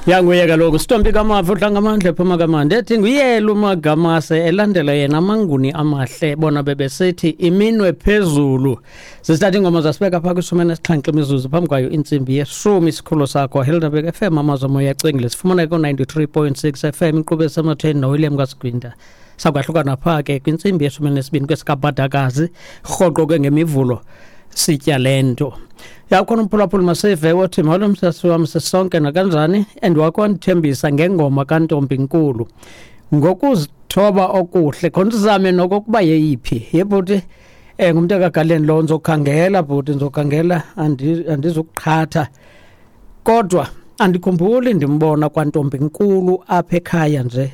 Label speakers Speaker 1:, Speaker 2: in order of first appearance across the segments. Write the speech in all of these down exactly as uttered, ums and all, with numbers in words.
Speaker 1: Yanguye kaloku Sitombi Kamafu udla ephuma kamandi ethi nguyela uMagamase elandela yena amaNguni amahle bona bebesithi iminwe phezulu. Sisithatha ingoma zasibeka phaa kwishumi nesixhenxe imizuzu phambi kwayo intsimbi yeshumi. Isikhululo sakho Helderberg F M, amazwi omoya acwengile, sifumana ko-ninety-three point six F M, inkqubo esematheni noWilliam kaSigwinta. Sakwahlukana phaa ke kwintsimbi yeshumi nesibini kwesikabhadakazi, rhoqo ke ngemivulo sitya le nto. Yakhona umphulaphuli masive wothi molo msasi wam sisonke nakanjani, and wakwandithembisa ngengoma kaNtombi Nkulu ngokuzithoba okuhle khona uzame nokokuba yeyiphi yebhuti. Eh ngumntu akagaleni lo, ndizokhangela bhuti, ndizokhangela, andizukuqhatha, kodwa andikhumbuli ndimbona kwaNtombi Nkulu apha ekhaya nje.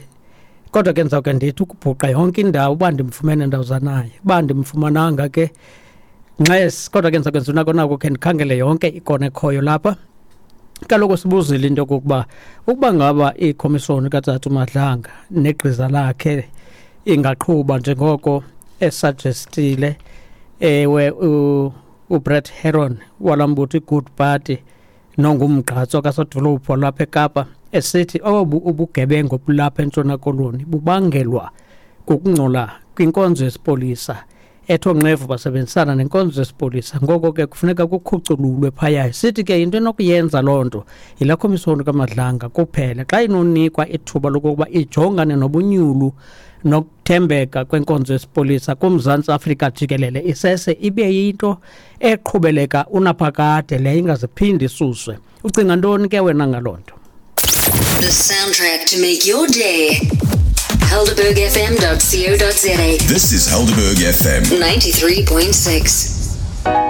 Speaker 1: Kodwa ke ndizawuke ndithi ukubhuqa yonke indawo uba ndimfumene ndawuzanaye, uba ndimfumananga ke nxesi, kodwa ke ndizawukwenza unako nako khe ndikhangele yonke ikona ekhoyo lapha. Kaloku sibuzile into yokokuba ukuba ngaba ikhomishoni kaTsatsu Madlanga negqiza lakhe ingaqhuba njengoko esuggestile ewe uBrett Heron walambutho iGood Party nongumgqatso kasodolophu walapha eKapa esithi obu ubugebengu bulapha eNtshona Koloni bubangelwa kukungcola kwinkonzo yesipolisa, etho nqevu basebenzisana nenkonzo yesipolisa, ngoko ke kufuneka kukhucululwe phaya. Sithi ke into enokuyenza loo nto yilaa khomishoni kaMadlanga kuphela xa inonikwa ithuba lokokuba ijongane nobunyulu nokuthembeka kwenkonzo yesipolisa kuMzantsi Afrika jikelele, isese ibe yinto eqhubeleka unaphakade le ingaziphindi isuswe. Ucinga ntoni ke wena ngaloo nto?
Speaker 2: The soundtrack to make your day. Helderberg F M dot co dot za.
Speaker 3: This is Helderberg F M
Speaker 2: ninety-three point six.